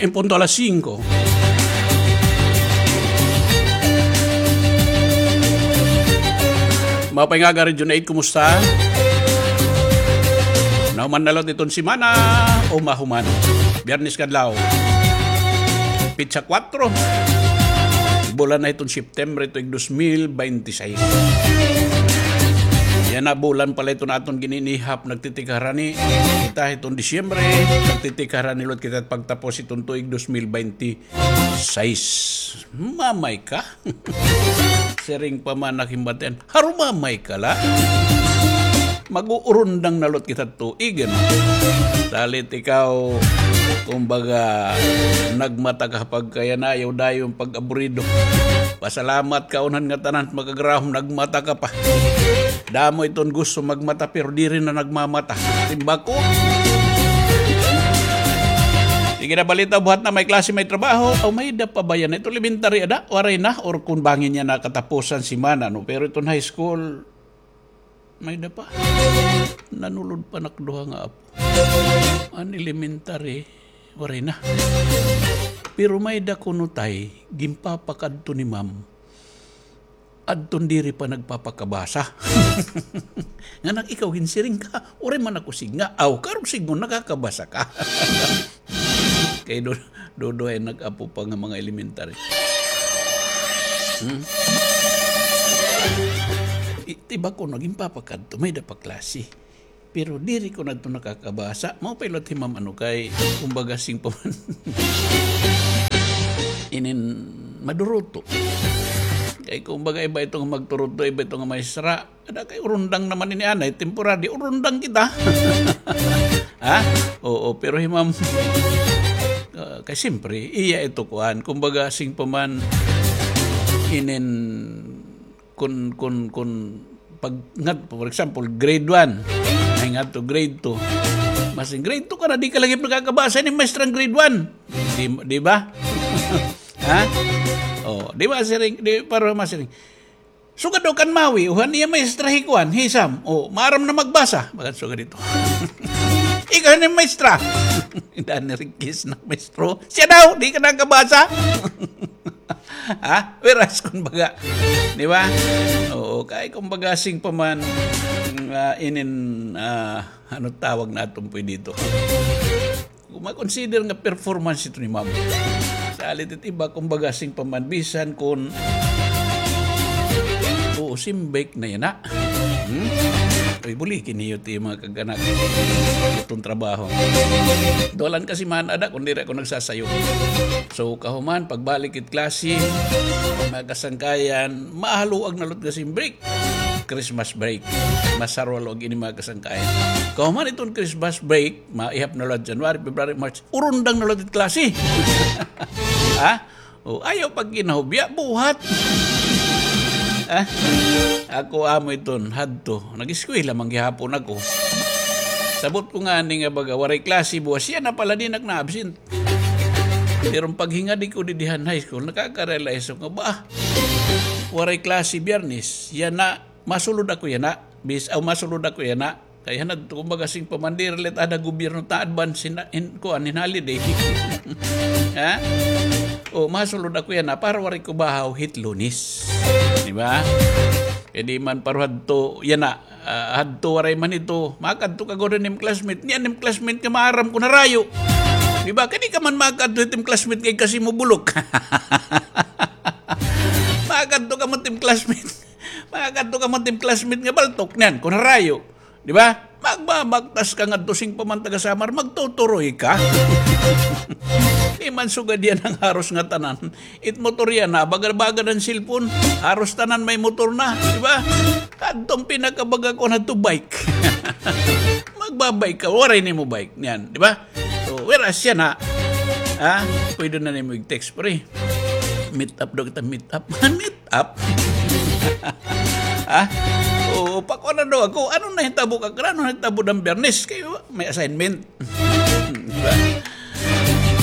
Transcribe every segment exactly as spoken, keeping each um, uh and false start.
En punto alas singko. Maupay nga aga, Region eight, kumusta? Nahuman na liwat iton semana, o mahuman. Biyernes nga adlaw. Petsa kuwatro. Bulan na iton September, tuig dos mil baynte sais. Yana, bulan pa la iton aton gininihap, nagtitikharani. Kita hiton Disyembre, nagtitikharani liwat kita pagtapos hiton tuig dos mil baynte sais. Mamay ka? Siring pa man ak hin batian, harumamay ka la. Mag-uurundang na liwat kita tuig, ano? Salit ikaw, kumbaga, nagmata ka pagkayana, ayaw dayon pag-aburido. Pasalamat ka, unhan ngatanan, makagrahom, nagmata ka pa. Damo iton gusto magmata, pero diri na nagmamata. Timbako. Sige na, balita, buhat na, may klase, may trabaho. O, may-ada pa ba yana? Ito elementary, ada? Waray na? Or kun bangin yana katapusan semana, no? Pero iton high school, may-ada pa. Nanulod pa an ak duha nga apo. An elementary, waray na. Pero may-ada kuno, tay, ginpapakadto ni ma'am. Adton diri pa nagpapakabasa. Nga nak ikaw ginsiring ka, waray man ako sidnga. Aw, karong sidngon nakakabasa ka. Kay do-, duduha an ak apo pa nga mga elementary. Hmm? I-, tiba ko, ginpapakadto, may-ada pa klase. Pero diri ko na ito nakakabasa. Mao pa ilot hi ma'am, ano, kay, kumbaga, sing pa man. Inin maduruto. Kay, kumbaga, iba ito nga magturuto, iba ito nga maestra. Ada kay urundang naman ini, anay, temporary, urundang kita. Ha? Oo, pero hi ma'am, ah, kay siyempre, iya ito kuan. Kumbaga, sing pa man, inin kun, kun, kun pag ngat-, for example, grade one, ay ngadto grade two. Masiring, "Grade two ka na, di ka lagi nakakabasa ni maestra nga grade one." Di, di ba? Ha? Oh, di ba, siring, di, para masiring. Sugad daw kan Mawi, uhan iya maestra hi kuan, hi Sam. Oh, maaram na magbasa. Bagan sugad ito. Ikaw ni maestra. Dani Riquez na maestro. Siya daw, di ka nakabasa. Ha? Whereas, kumbaga, di ba? Oo, kay kumbaga, sing pa man, ah, inin, ah, ano tawag naton pwede ito? Kung ma-consider nga performance ito ni ma'am. Salit it iba, kumbaga, sing pa man, bisan kun, oo, simbik na yana. Hmm? Uy, buliki niyo ti mga kag-anak. Iton trabaho. Duha la ka semana ada, kun diri ako nagsasayo. So, kahuman, pagbalik it klase, mga kasangkayan, mahaluag na liwat nga sing break. Christmas break. Masarwalog ini, mga kasangkayan. Kahuman iton Christmas break, maihap na liwat January, February, March, urundang na liwat it klase. Ha? O, ayaw pagkinahubya, buhat. Ha? Ako amo iton, hadto. Nag-eskwela man gihapon ako. Sabot ko ngani nga baga, waray klase buwas, siya na pala, di na ak na-absent. Pero paghingadi ko didi han high school, nakaka-realize ako nga, ba, waray klase Biyernes, yana, masulod ako yana. Bis-, aw, masulod ako yana. Kay han adto, kumbaga, sing pa man, diri la it ada gobyerno ta advance hin, hin, kuan, hin holiday. Ha? O, masulod ako yana para waray ko bahaw hit Lunes. Di ba? Kay di man pareho hadto yana, ah, hadto waray man ito. Makadto ka gud han im classmate. Niyan im classmate nga maaram kon harayo. Di ba? Kay di ka man makadto hit im classmate kay kasi mo bulok. Makadto ka man tim classmate. Makadto ka man tim classmate nga baltok niyan kon harayo. Di ba? Magbabaktas ka ngadto, sing pa man taga Samar, magtuturoy ka. Di man sugad yana nga haros ngatanan. It motor yana, bagad-bagad an cellphone, haros tanan may motor na, di ba? Kadto an pinakabaga kuan hadto, bike. Magbabike ka, waray nimo bike niyan, di ba? So, whereas yana, ha? Pwede na nimo i-text, pre. Meet up daw kita, meet up. Meet up? Ha? O, pakuan na daw ako. Ano nahitabo ka, ano nahitabo dida Biyernes? Kay may assignment. Di ba?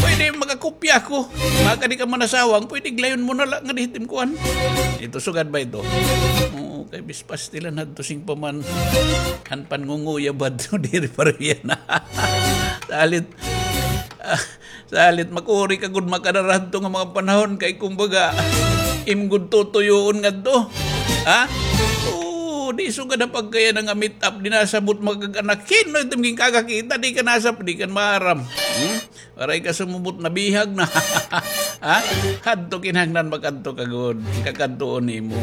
Pwede makakopya ako. Makadi ka man asawang, pwede glayon mo na la ngadi hit im kuan. Ito, sugad ba ito? Oo, kay bis pastilan hadto, sing pa man. Han pangunguyab hadto, diri pareho yana. Salit, Salit makuri ka gud makadara hadto nga mga panahon kay kumbaga, im gud tutuyoon ngadto. Ha? Oo, di sugad ha pagkayana nga meet up, di nasabot makag-anak. Hin-o iton ginkakakita, di ka nasab-, di ka maaram. Hmm? Waray ka sumubot, nabihag na. Ha? Hadto kinahanglan makadto ka gud. Kakadtuon nimo.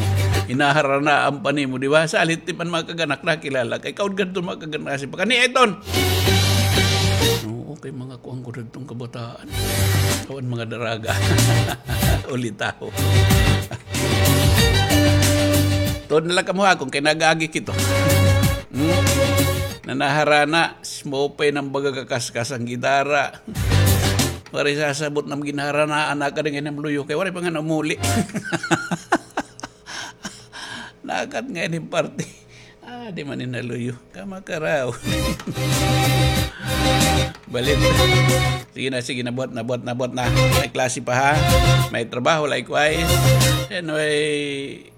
Hinaharanaan pa nimo, di ba? Salit di man makag-anak nakilala. Kay kaon kadto makag-anak si pakani iton. Oo, kay mga kuan ko didtong kabataan. Awan mga daraga. Ulitaw. Tuod na la kamo ha akon kay nag-aagi kito. Hmm? Nanaharana, maupay na an baga kakaskas an gitara. Waray sasabot na an ginharanaan, nakadi ngay-an hin luyo kay waray pa ngay-an umuli. Nakat ngay-an hin parte. Ah, di man ini naluyo. Kamakaraw. Balit. Sige na, sige na, buhat na, buhat na, buhat na. May klase pa, ha? May trabaho, likewise. Anyway,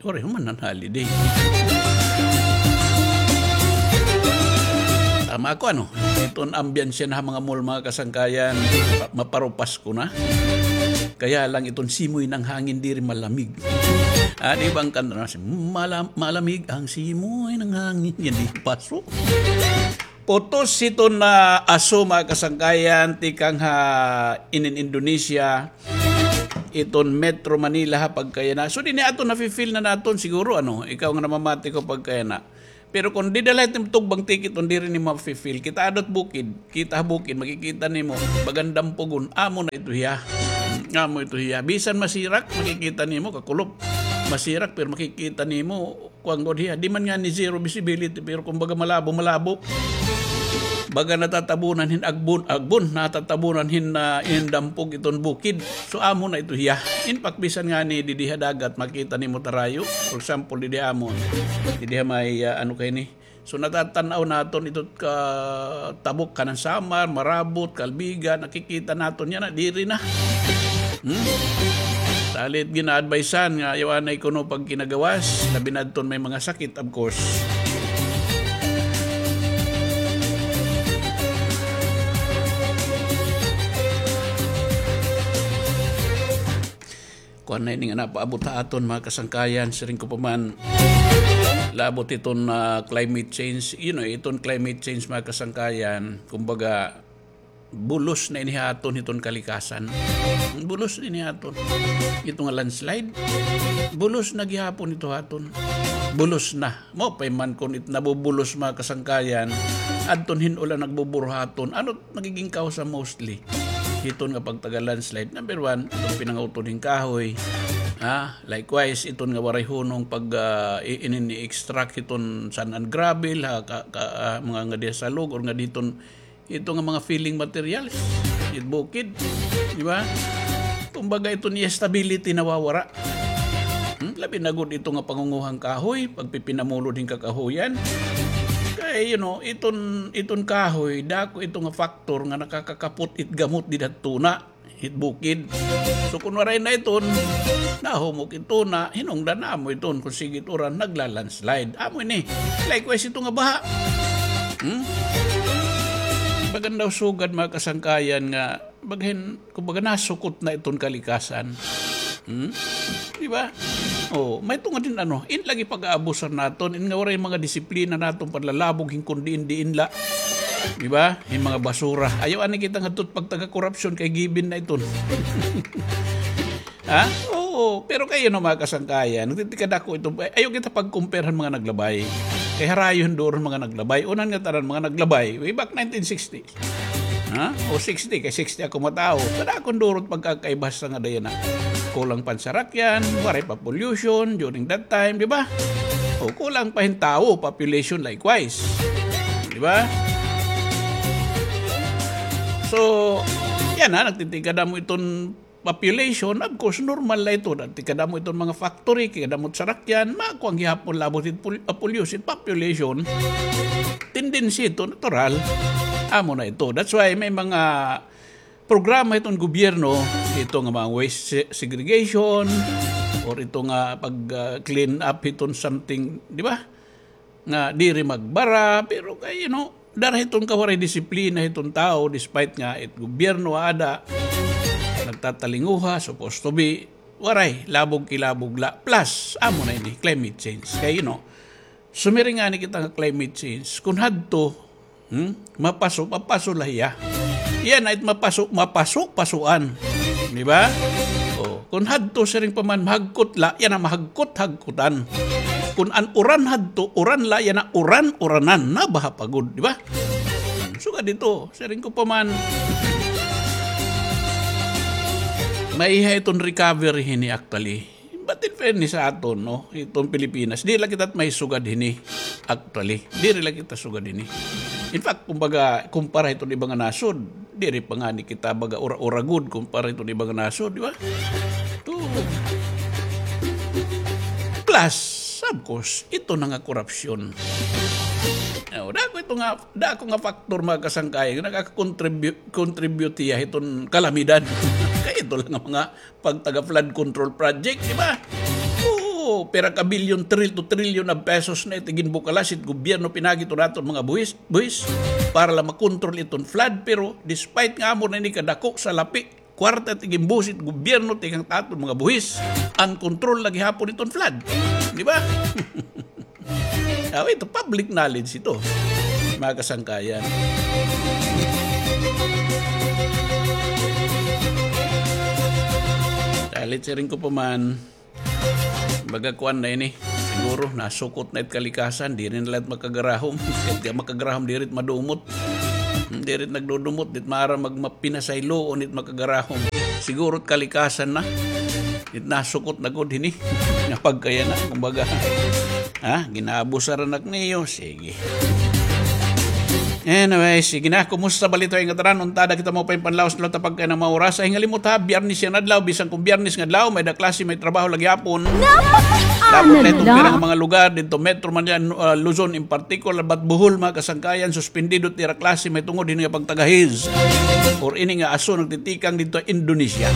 waray human an holiday. Tama ako, ano? Iton ambience na ha mga mall, mga kasangkayan, pa-, maparupas ko na. Kaya lang iton simoy ng hangin diri malamig. Ah, di ba an kanta na, "Malam-, malamig ang simoy ng hangin." Yan, di paso. Putos hiton, ah, aso, mga kasangkayan, tikang ha inin Indonesia, iton Metro Manila ha pagkayana. So, dinhi aton nafi-feel na naton siguro, ano, ikaw nga namamati ko pagkayana. Pero kon dida la it im tugbang ticket, on diri nimo mafi-feel. Kita adto ha bukid, kita ha bukid, makikita nimo, bagan dampugon, amo na ito hiya. Amo ito hiya. Bisan masirak, makikita nimo, kakulop. Masirak, pero makikita nimo, kuan gud hiya. Di man ngani zero visibility, pero kumbaga malabo, malabo. Baga natatabunan hin agbon, agbon, natatabunan hin, ah, hin dampog iton bukid. So, amo na ito hiya. In fact, bisan ngani didi ha dagat, makita nimo tarayo. For example, didi ha amon. Didi ha may, ah, ano kay ni? So, natatan-aw naton ito ka tabok kanan Samar, Marabut, Calbigan, nakikita naton yana, diri na. Hmm? Salit gina-advisean nga ayaw anay kuno pagkinagawas, labi na adton may mga sakit, of course. Kuan na ini nga napaabot ha aton, mga kasangkayan, siring ko pa man, labot iton, ah, climate change. You know, iton climate change, mga kasangkayan, kumbaga, bulos na ini ha aton hiton kalikasan. Bulos na ini ha aton. Ito nga landslide, bulos na gihapon ito ha aton. Bulos na. Maupay man kon it nabubulos, mga kasangkayan, adton hin-o la nagbuburo ha aton. Ano nagiging kausa mostly hiton nga pagtaga-landslide? Number one, iton pinangawton hin kahoy. Ha? Likewise, iton nga waray hunong pag, ah, i-, inin i-extract hiton sand and gravel, ha, ka, ka, ah, mga ngadi ha salog, or ngadi hiton ito nga mga filling materials, it bukid, di ba? Kumbaga, ito niya stability nawawara. Hmm? Labi na gud ito nga pangunguhang kahoy, pagpipinamulod hin kakahoyan. Kay, you know, iton, iton kahoy, dako ito nga factor nga nakakakapot it gamot dida ha tuna. It bukid. So, kun waray na iton, nahumok it tuna, hinungdan amo iton, kun sige it uran, nagla-landslide. Amo ini. Likewise, ito nga baha. Hmm? Bagan daw sugad, mga kasangkayan, nga, bagahin, kumbaga, nasukot na iton kalikasan. Hmm? Di ba? Oh, may tungod din, ano, in lagi pag-aabusan naton, in nga waray mga disiplina naton, panlalabog, hin kun diin-diin la. Di ba? Hin mga basura. Ayaw ani kita ngadto pagtaga-korupsyon kay given na iton. Ha? Oo, pero kay, ano, mga kasangkayan, nagtitikad ako ito. Ay, ayaw kita pag-compare han mga naglabay. Kay harayo hin duro han mga naglabay. Unahan ngatanan mga naglabay, way back nineteen sixty. Ha? O sixty, kay sixty ako matawo. Kada akon durot pagkakaiba sa nga dayon na. Kulang pansarakyan, waray pa pollution during that time, di ba? O kulang pa hin tawo, population likewise. Di ba? So, yana, nagtitikada mo iton population, of course, normal la ito. Dati kadamo iton mga factory, kadamo it sarakyan, makuan gihapon labot it pol-, ah, pollution, population. Tendency ito, natural. Amo na ito. That's why may mga programa iton gobyerno, ito nga mga waste se-, segregation, or ito nga pag, ah, clean up iton something, di ba? Nga diri magbara, pero kay, you know, dara hiton kawaray disiplina hiton tawo, despite nga it gobyerno aada, nagtatalinguha, supposed to be, waray, labog-kilabog la. Plus, amo na ini, climate change. Kay, you know, sumiring ngani kita nga climate change. Kun hadto, hmm, mapaso, mapaso la hiya. Yana it mapaso, mapaso, pasuan. Di ba? O, kun hadto siring pa man mahagkot la, yana mahagkot, hagkutan. Kun an uran hadto, uran la, yana uran, uranan, nabaha pa gud, di ba? Sugad hito, siring ko pa man, maiha iton recovery hini actually. But in fairness sa aton, no, iton Pilipinas, di la kita maisugad hini actually. Diri la kita sugad hini. In fact, kumbaga, kumpara hiton iba nga nasod, diri pa ngani kita baga ura-ura gud kumpara hiton iba nga nasod, di ba? Ito. Plus, of course, ito na nga korupsyon. O, dako ito nga, dako nga factor, mga kasangkayan, nga nagaka-contribute, contribute hiya hiton kalamidad. Kay ito la nga mga pagtaga flood control project, di ba? Oo, pira ka bilyon, tril to trilyon of pesos na it ginbukalas it gobyerno pinaagi hiton aton mga buhis, buhis, para la makontrol iton flood. Pero despite nga amo na ini kadako salapi, kwarta it ginbuhos it gobyerno tikang aton mga buhis, an kontrol la gihapon iton flood. Di ba? Aw, ito, public knowledge ito, mga kasangkayan. Dalit siring ko pa man, baga kuan na ini. Siguro, nasukot na it kalikasan, diri na la it makagarahom. Kay it makagarahom, diri it madumot. Hmm, diri it nagdudumot, di it maaram mag-, mapinasayloon it makagarahom. Siguro it kalikasan na. It nasukot na gud hini. Nga pagkaya na, kumbaga. Ha? Ginaabusar na ak niyo. Sige. Anyway, sige na. Kumusta balita nga tanan? Unta ada kita maupay panlawas na ta pagkaya na mga oras. Ay, hingalimot ha, Biyernes yana adlaw. Bisan kon Biyernes nga adlaw, may-ada klase, may trabaho la gihapon. Tapos na iton pira nga mga lugar, dito Metro Manila, uh, Luzon in particular, but Bohol, mga kasangkayan, suspendido it ira klase, may tungod hini nga pagtagahiz. Or ini nga aso nagtitikang dito Indonesia.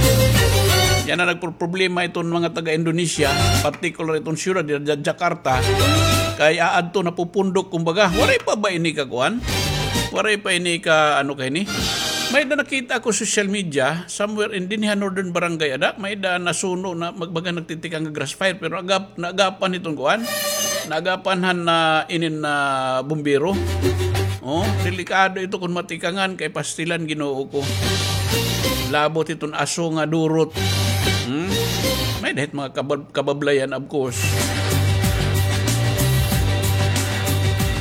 Yana nagproproblema iton mga taga Indonesia, particular iton siyudad, dira Ja-, Jakarta. Kay aadto napupundok, kumbaga, waray pa ba ini ka kuan? Waray pa ini ka, ano ka ini? May-ada nakita ko social media, somewhere in dinhi ha Northern Barangay ada, may-ada nasuno na magbaga nagtitikang nga grass fire, pero agap-, naagapan iton kuan, naagapan han na inin na bumbero. Oh, delikado ito kon matikangan kay pastilan, Ginoo ko. Labot iton aso nga durot. Hmm? May-ada hit mga kabab-, kabablayan, of course.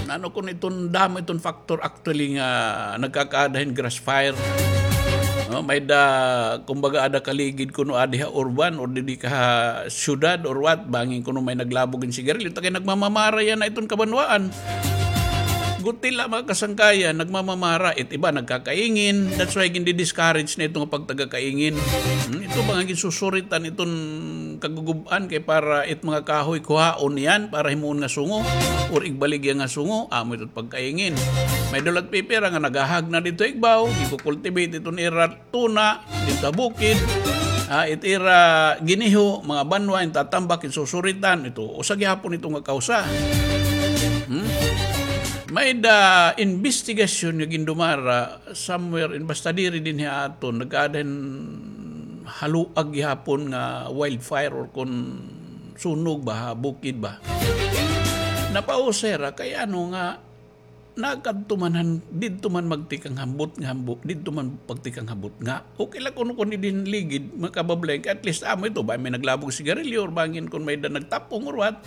Ano kon iton damo iton factor actually nga nagkakaada hin grass fire. No, may-ada, kumbaga, ada kaligid kuno adi ha urban or didi ka ha syudad or what, bangin kuno may naglabog hin sigarilyo, ta kay nagmamamara yana iton kabanwaan. Guti la, mga kasangkayan, nagmamamara. It iba nagkakaingin. That's why gindi-discourage na ito nga pagtagakaingin. Hmm, ito ba nga ginsusuritan iton kagugub-an kay para it mga kahoy kuhaon niyan para himuon nga sungo or igbaligya nga sungo, amo ito pagkaingin. May-ada la it pipira nga nagahag na dito igbaw, gikukultivate iton ira tuna, dito ha bukid, ah, it ira giniho, mga banwa, in tatambak, in susuritan, ito, usa gihapon ito nga kausa. Hmm? May-ada imbestigasyon nga gindumara somewhere in, basta diri dinhi ha aton, nagkaada hin haluag gihapon nga wildfire or kon sunog ba, ha bukid ba. Napausay ra kay ano nga, nakadto man han, didto man magtikang hambot nga hambo, didto man pagtikang hambot nga. Okay la kuno kon didto hin ligid, mga kabablayan, kay at least amo ito, ba may naglabog sigarilyo, or bangin kon may-ada nagtapong or what.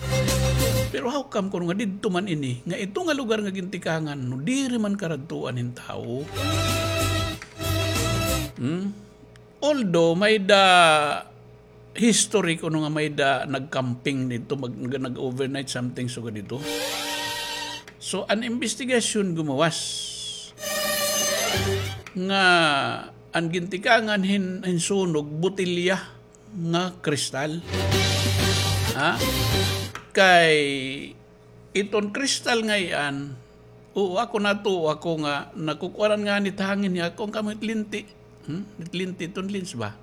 Pero how come kuno nga didto man ini, nga ito nga lugar nga gintikangan, no, diri man karadtuan hin tawo? Hmm? Although, may-ada history kuno nga may-ada nag-camping didto, mag-, nag-, nag-overnight something sugad didto. So, an imbestigasyon gumawas nga an gintikangan hin, hin sunog, botelya nga kristal. Ha? Kay iton kristal nga iyan, oo, ako natuo ako nga nakukuanan ngani it hangin niya, kon kamo it linti. Hmm? It linti, iton lens ba?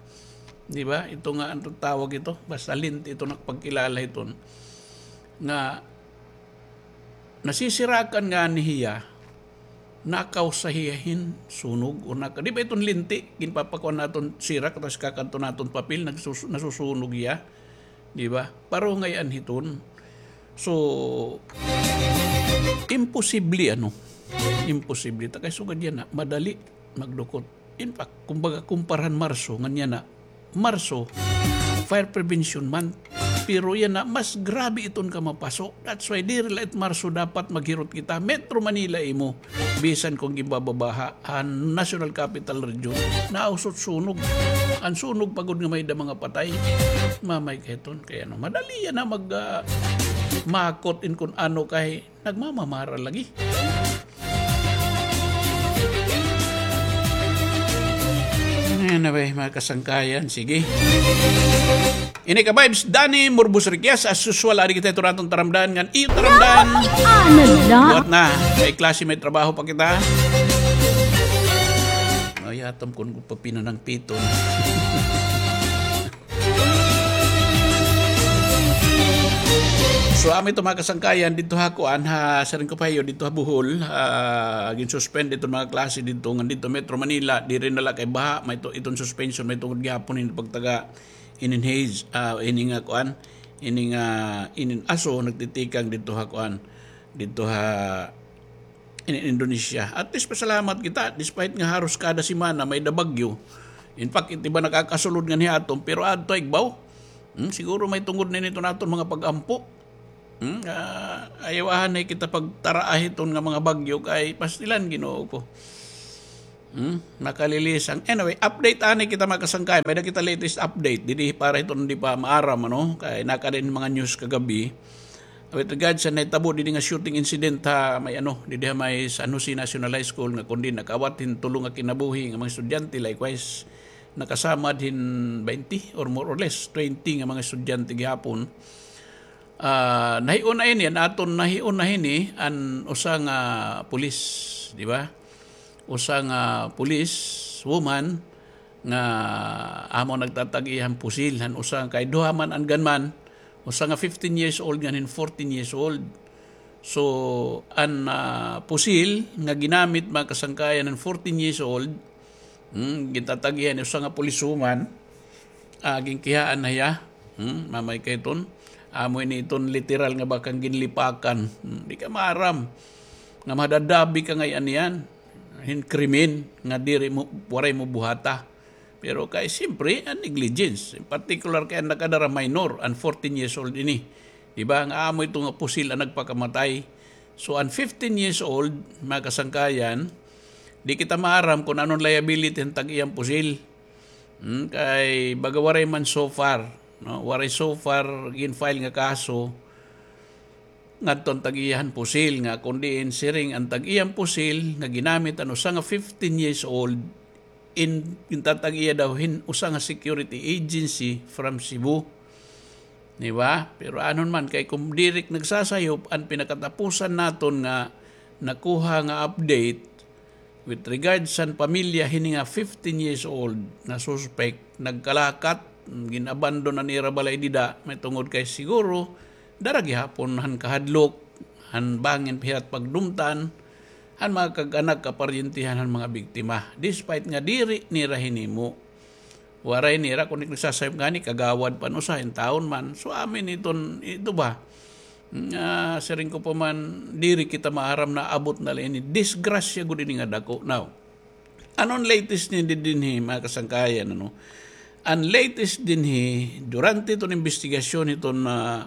Di ba? Ito nga, ano tawag ito? Basta linti, ito nakapagkilala iton. Nga, nasisirakan ngani hiya, nakaw sa hiya hin sunog o naka-, di ba iton linti, ginpapakuan naton sirak, tapos kakadto naton papel, nagsus-, nasusunog hiya. Di ba? Paro ngay-an hiton. So, imposible, ano? Imposible. Ta kay sugad yana, madali magdukot. In fact, kumbaga, kumpara han Marso, ngan yana, Marso, Fire Prevention Month. Pero yana, mas grabe iton kamapaso. That's why, diri la it Marso dapat maghirot kita. Metro Manila imo. Bisan kon ginbababaha an National Capital Region, nausot sunog. An sunog pa gud nga may-ada mga patay. Mamay ka hiton. Kay ano, madali yana mag, ah, makot in kon ano kay nagmamamara lagi. Anyway, mga kasangkayan, sige. Ini ka vibes, Danny Murbos Riquias, as usual, adi kita ito naton taramdan, ngan iyo taramdan. Ano la? Buhat na, may klase, may trabaho pa kita. Ay, atam kon papinanang piton. So, amo ito, mga kasangkayan, didto ha kuan, ha, siring ko pa ha iyo, didto ha Bohol, ah, gin-suspend iton mga klase didto, ngan didto Metro Manila, diri na la kay baha, may to, iton suspension, may tungod gihapon hin pagtaga inin haze, ah, ini nga kuan, ini nga, inin aso, nagtitikang didto ha kuan, didto ha in Indonesia. At least, pasalamat kita, despite nga haros kada semana may-ada bagyo. In fact, it iba nakakasulod nganhi aton, pero adto igbaw. Hmm, siguro may tungod na ini iton aton mga pag-ampo. Hmm, ah, ayaw anay kita pagtaraa hiton nga mga bagyo kay pastilan, Ginoo ko. Hmm, makalilisang. Anyway, update anay kita, mga kasangkay. May-ada kita latest update. Didi para hiton di pa maaram, ano? Kay nakada ini mga news kagabi. With regards sa nahitabo didi nga shooting incident ha may ano, didi ha may San Jose National High School nga kundi nakaawat hin tulo nga kinabuhi nga mga estudyante, likewise nakasamad hin twenty or more or less twenty nga mga estudyante gihapon. Ah, nahiuna ini, an aton nahiuna hini an usa nga pulis, di ba? Usa nga police woman nga amo nagtatag-iya han pusil han usa kay duha man an gunman, usa nga fifteen years old ngan hin fourteen years old. So, an, ah, pusil nga ginamit, mga kasangkayan, han fourteen years old, hmm, gintatag-iya han usa nga police woman, ah, ginkihaan na hiya. Hmm, mamay ka hiton. Amo ini iton literal nga bakang ginlipakan. Hmm, di ka maaram nga madadabi ka ngay-an niyan hin krimen nga diri mo, waray mo buhata. Pero kay siyempre, an negligence. In particular kay an nakadara minor, an fourteen years old ini. Di ba? Nga amo ito nga pusil an nagpakamatay. So, an fifteen years old, mga kasangkayan, di kita maaram kon ano an liability han tag-iyang pusil. Hmm, kay baga waray man so far, no? Waray so far gin-file nga kaso ngadto an tag-iya han pusil nga kon diin siring an tag-iyang pusil nga ginamit an usa nga fifteen years old in, gintatag-iya daw hin usa nga security agency from Cebu. Di ba? Pero anon man, kay kon diri nagsasayop an pinakatapusan naton nga nakuha nga update, with regards han pamilya hini nga fifteen years old nga suspect, nagkalakat, gin-abandon an ira balay dida, may tungod kay siguro, dara gihapon han kahadlok, han bangin pa hira pagdumtan han mga kag-anak, kaparyentihan han mga biktima, despite nga diri nira hinimo. Waray nira, kon nagsasayop ngani, kagawad pa an usa, intawon man. So, amin iton, ito ba? Nga, siring ko pa man, diri kita maaram, naabot na la ini. Disgrasya gud ini nga dako. Now, ano an latest ni di-, dinhi, mga kasangkayan, ano? An latest dinhi, durante iton imbestigasyon iton, ah,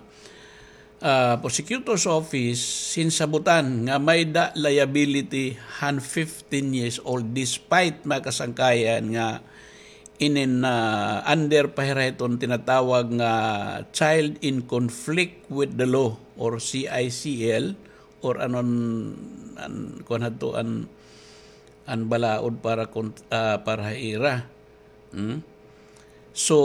ah, prosecutor's office, sinsabutan nga may-ada liability han fifteen years old, despite, mga kasangkayan, nga inin, ah, under pa hira hiton tinatawag nga child in conflict with the law or C I C L or anon, an, kuan hadto, an, an balaod para kon-, ah, para ha ira. Hmm? So,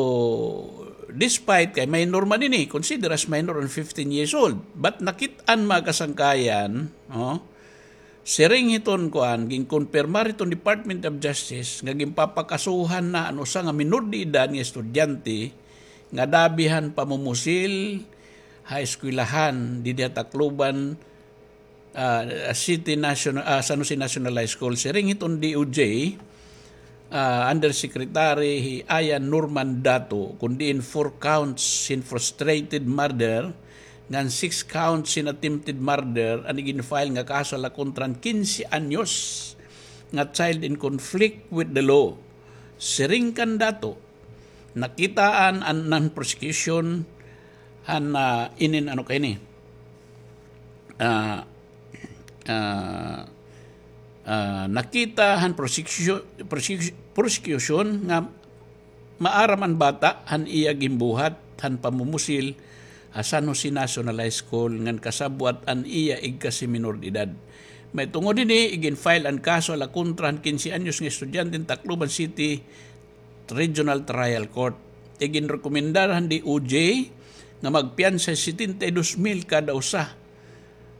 despite kay minor man ini, consider as minor an fifteen years old. But nakit-an, mga kasangkayan, no? Siring hiton kuan, ginkonpirmar hiton Department of Justice nga ginpapakasuhan na an usa nga minor de edad nga estudyante nga dabi han pamumusil ha eskwelahan didi ha Tacloban, ah, City National, ah, San Jose National High School, siring hiton D O J, ah, Undersecretary hi Ian Norman Dato, kun diin four counts hin frustrated murder, ngan six counts hin attempted murder, an igin-file nga kaso ha la kontra han quince anyos nga child in conflict with the law. Siring kan Dato, nakitaan an, an prosecution han, ah, inin ano kay ni. Ah, ah, ah, nakita han prosecution, prosecu-, prosecution nga maaram an bata han iya ginbuhat han pamumusil ha San Jose National High School ngan kasabwat an iya igkasi minor de edad. Mahitungod hini, igin-file an kaso ha la kontra han quince anyos nga estudyante han Tacloban City Regional Trial Court. Iginrekomendar han D O J nga magpiyansa setenta y dos mil kada usa.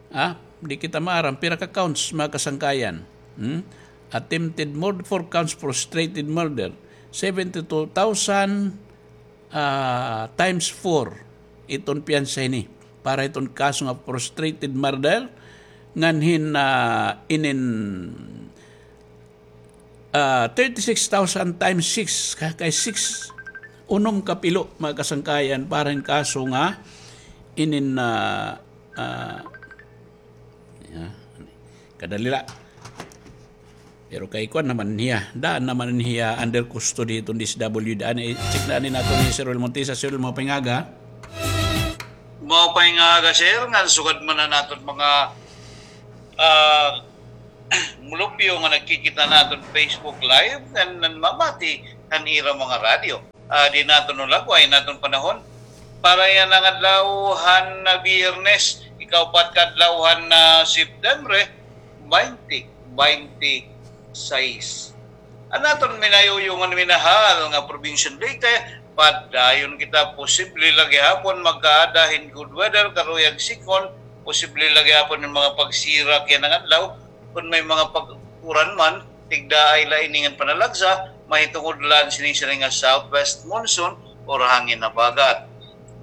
Ah, di kita maaram pira ka counts, mga kasangkayan. Hmm? Attempted murder, four counts, frustrated murder. Seventy-two thousand, ah, times four iton piyansa hini. Para iton kaso nga frustrated murder, ngan hin, ah, inin ah, thirty-six thousand times six, ka-, kay six, unom ka pilo, mga kasangkayan, para hin kaso nga inin, ah, ah, ya, kadali la. Pero kay kuan naman hiya, daan naman hiya under custody iton D S W D. Ani, check na ani naton ni Sir Will Montesa. Sir Will, maupay nga aga. Maupay nga aga, sir, ngan sugad man an aton mga, ah, mulupyo nga nagkikita naton Facebook Live, ngan nanmamati han ira mga radyo. Ah, di naton ulagway an aton panahon. Para yana nga adlaw han Biyernes, ikaupat ka adlaw han, ah, September, twenty twenty-six. An aton minayuyo ngan minahal nga Probinsya han Leyte, padayon kita, posible la gihapon magkaada hin good weather, karuyag sikon, posible la gihapon hin mga pagsira yana nga adlaw, kon may mga pag-uran man, tigdaay la ini ngan panalagsa, mahitungod la an sinisiring nga southwest monsoon or hangin habagat.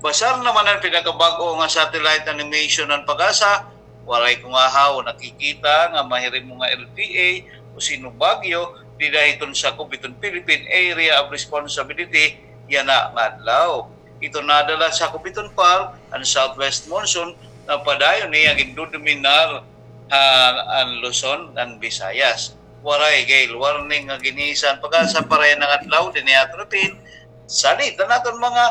Basar naman an pinakabag-o nga satellite animation han PAGASA, waray kungahaw nakikita nga mahirimo nga L P A o Sinubagyo dida hiton sakob hiton Philippine Area of Responsibility yana nga adlaw. Iton ada la sakob hiton PAR an southwest monsoon nga padayon niya gindodominar han, an Luzon ngan Visayas. Waray gale warning nga gin-isa han PAGASA para yana nga adlaw dinhi ha aton ipin. Salit an aton mga,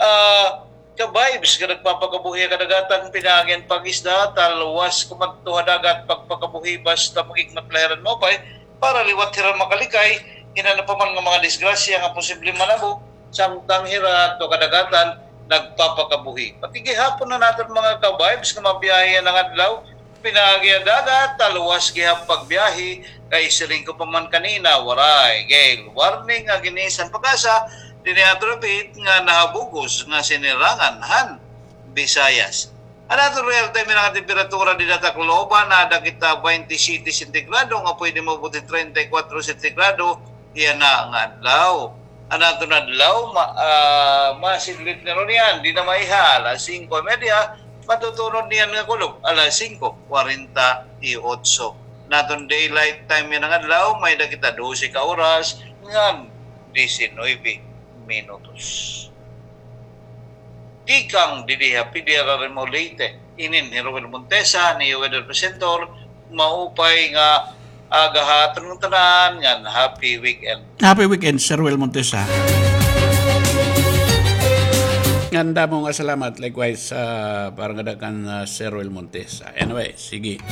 ah, ka-vibes nga nagpapakabuhi ha kadagatan, pinaagi han pag-isda, talwas kumadto ha dagat, pagpakabuhi basta mag-ikmat la hira hin maupay, para liwat hira makalikay hin ano pa man nga mga disgrasya nga posible manabo, samtang hira adto ha kadagatan nagpapakabuhi. Pati gihapon an aton mga ka-vibes nga mabiyahe yana nga adlaw, pinaagi ha dagat, talwas gihap pagbiyahe, kay siring ko pa man kanina, waray gale warning nga gin-isa han PAGASA dinhi ha aton ipin nga nahabugos nga sinirangan han Visayas. An aton real time nga temperatura dida ha Tacloban, ada kita twenty-seven sentigrado nga pwede maabot hin treinta y cuatro sentigrado yana nga adlaw. An aton adlaw, ma-, ah, masidlit na runo niyan, dida maiha, alas singko y media, matutunod niyan nga kulop, alas singko cuarenta y ocho. An aton daylight time yana nga adlaw, may-ada kita dose ka oras ngan disinuybe minutos. Tikang didi ha P D R R M O Leyte, inin hi Roel Montesa, an iyo weather presenter, maupay nga aga ha aton tanan ngan happy weekend. Happy weekend, Sir Roel Montesa. Ngan damo nga salamat, likewise, ah, para ngada kan, ah, Sir Roel Montesa. Anyway, sige.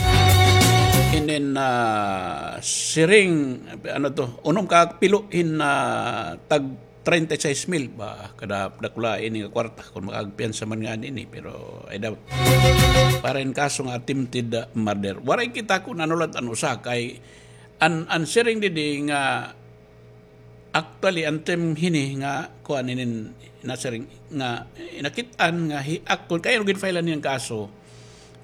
And then, ah, siring, ano to, unom ka pilo hin, ah, tag treinta y seis mil ba, kada dakula ini nga kwarta, kon makagpiyansa man ngani ini, pero I doubt. Para hin kaso nga attempted, ah, murder. Waray kita kon ano la it an usa kay an, an siring didi nga actually an term hini nga kuan inin nasiring nga nakit-an nga he act-, kon kay ano gin-file-an niyan kaso,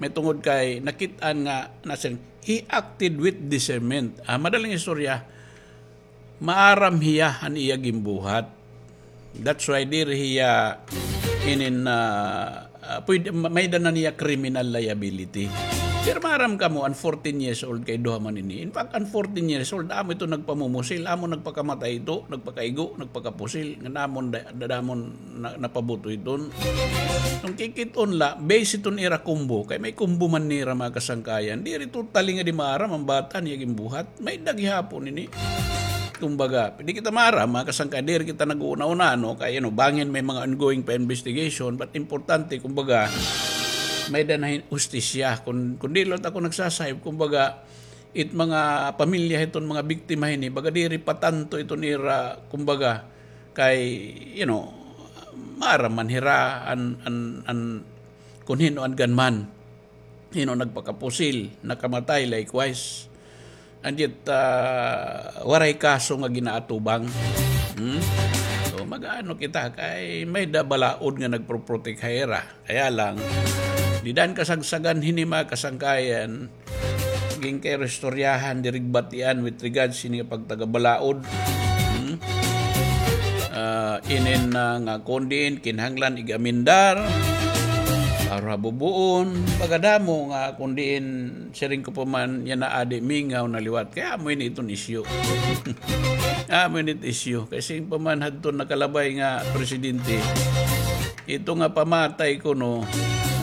mahitungod kay nakit-an nga nasiring he acted with discernment. Ah, madaling istorya, maaram hiya han iya ginbuhat. That's why diri hiya inin, ah, ah, pwede, ma-, may-ada na niya criminal liability. Pero maaram kamo, an fourteen years old kay duha man ini. In fact, an fourteen years old, amo ito nagpamumusil, amo nagpakamatay ito, nagpakaigo, nagpakapusil, ngan amo da-, da-, amo na-, napabuto iton. Kon kikit-on la, base iton ira combo, kay may combo man nira, mga kasangkayan. Diri totally nga di maaram an bata niya ginbuhat. May-ada gihapon ini. Kumbaga, di kita maaram, mga kasangkayan, diri kita nag-uuna-una, no? Kay, you know, bangin may mga ongoing pa investigation, but importante, kumbaga, may-ada na hin-, hustisya. Kun, kun diri la ako nagsasayop, kumbaga, it mga pamilya hiton mga biktima hini, baga diri pa tanto iton ira, kumbaga, kay, you know, maaram man hira an, an, an, kun hin-o an gunman. Hin-o nagpakapusil, nakamatay, likewise. And yet, ah, waray kaso nga ginaatubang. Hmm? So, mag-aano kita, kay may-ada balaod nga nagproprotek ha ira. Kaya lang, dida han kasagsagan hini, mga kasangkayan, ginkairistoryahan, diri batian with regards hini nga pagtagabalaod. Hmm? Ah, inin na nga kon diin, kinahanglan ig-amendar, para bubuon, baga damo nga kon diin, siring ko pa man, yana adi mingaw na liwat. Kay amo ini iton isyu. Amo ini it isyu. Kay siring pa man hadton nakalabay nga presidente, ito nga pamatay kuno,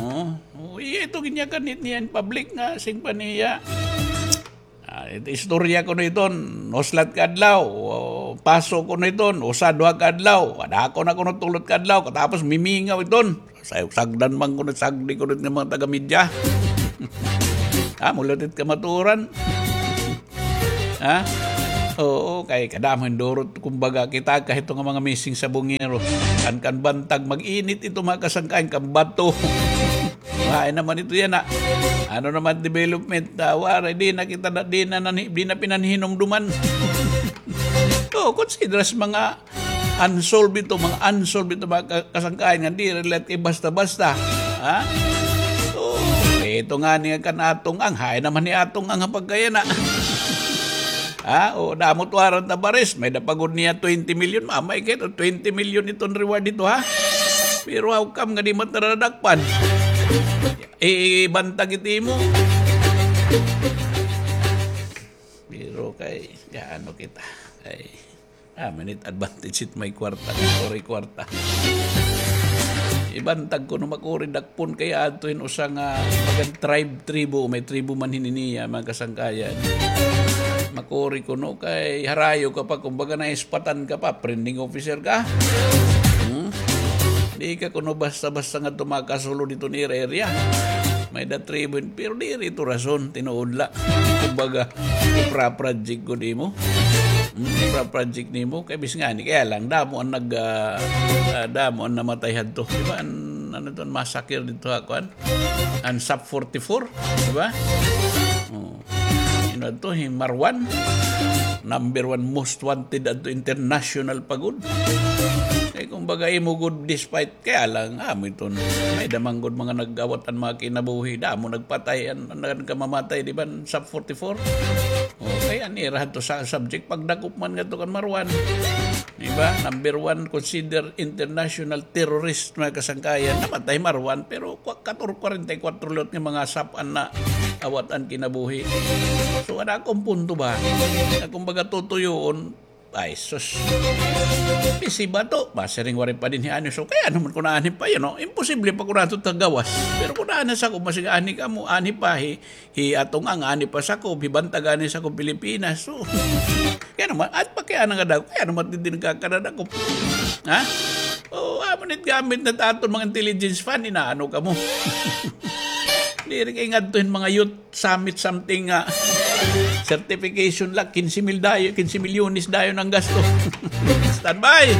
oh, oh, iya ito ginyakan niya in public nga siring pa niya. Ah, it-, istorya kuno iton, uslat ka adlaw, o, paso kuno iton, usa, duha ka adlaw, kadako na kuno tulot ka adlaw, katapos mimingaw iton. Say-, sagdan man kuno, sagdi kuno nga mga taga-media. Ah, mulatit kamatuoran. Ha? Oo, kay kadamo hin durot, kumbaga, kita ka hito nga mga missing sa bungero. Kan, kan bantag, mag-init ito, mga kasangkayan, kan bato. Hain naman ito yana. Ano naman development? Ah, waray, di na kita na, di na, nani-, di na pinanhinumduman. Oo, consider sa mga unsolved ito, mga unsolved ito, mga ka-, kasangkayan nga di relate kay basta-basta. Ha? Oo, ito ngani nga kan Atong Ang, hain naman hi Atong Ang ha pagkayana. Ha? O, damo it warrant of arrest, may-ada pa gud niya twenty million, mamay kay ito, twenty million iton reward ito, ha? Pero how come nga di man ta nadakpan? Ibantag it imo. Pero kay, gaano kita? Ay, ah, minute advantage it may kwarta, waray kwarta. Ibantag kuno, makuri dakpon kay adto hin usa nga bagan tribe, tribo, may tribo man hini niya, mga kasangkayan. Makuri kuno kay harayo ka pa, kumbaga naispatan ka pa, prending officer ka. Hmm? Di ka kuno basta-basta nga tumakasulod dito ni ira area. May-ada tribo, pero diri ito rason, tinuod la. Kumbaga, ipra-project ko nimo. Hmm, ipra-project nimo, kay bis ngani, kaya lang, damo an nag, ah, ah, damo an namatay hadto. Di ba, an, ano to, an massacre dito ha, kuan? An Sub forty-four, di ba? Oh. Ino to, hi Marwan? Number one most wanted adto international pa gud. Kay kumbaga, imo gud, despite, kaya lang, amo iton, may-ada man gud mga nag-awat an mga kinabuhi, damo nagpatay, an, an, an kamamatay, di ba, an Sub forty-four? Okay, an ira hadto sa subject, pagdakop man ngadto kan Marwan. Di ba? Number one, consider international terrorist, mga kasangkayan. Namatay Marwan, pero kwa-, kator-, kwarenta y kwatro liwat nga mga Sub an naawat an kinabuhi. So, an akon punto ba? Na kumbaga, tutuyoon, ay, sus. Pisi ba to? Basiring waray pa dinhi anhi. So, kay ano man kun anhi pa, you know, imposible pa kun ato ta gawas. Pero kun anhi sa ko, masig anhi kamo, anhi pa, hi, hi Atong Ang, anhi pa sa ko, hi Bantag anhi sa ko, Pilipinas. So, kay ano man, at pa kay ano nga daw, kay ano man din nagkakadadakop. Ha? O, amo nit gamit na ta aton mga intelligence fund, inaano kamo. Diri kay ngadto hin mga youth summit something nga certification la, quince mil dayo, quince milyones dayon an gasto. Standby!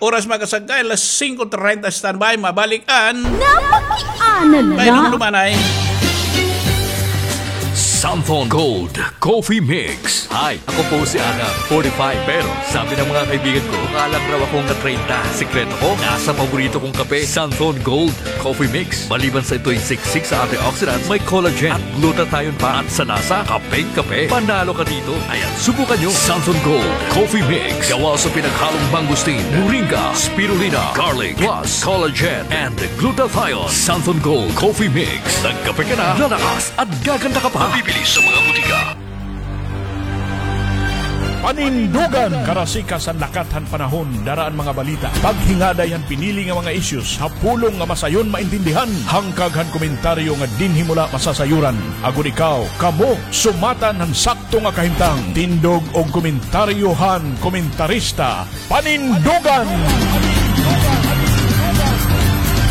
Oras, mga kasangkay, alas singko treinta, standby, mabalik an Napakiana la. Kay nung dumanay. Santhon Gold Coffee Mix. Hi, ako po si Adam, forty-five. Pero sabi ng mga kaibigan ko, mukha lang raw akong na-treinta. Sikreto ko, nasa paborito kong kape, Santhon Gold Coffee Mix. Maliban sa ito'y siksik sa antioxidants, may collagen at glutathione pa. At sa lasa, kapeng-kape. Panalo ka dito. Ayan, subukan nyo. Santhon Gold Coffee Mix. Gawa sa pinaghalong mangosteen, moringa, spirulina, garlic, plus collagen and glutathione. Santhon Gold Coffee Mix. Nagkape ka na, lalakas at gaganda ka pa. Mabibili sa mga butika. Panindugan! Karasikas han lakat han panahon, dara an mga balita. Paghingaday han pinili nga mga issues ha pulong nga masayon maintindihan. Hangkag han komentaryo nga dinhi mo la masasayuran. Agod ikaw, kamo, sumatan han sakto nga kahimtang. Tindog og komentaryo han komentarista. Panindugan!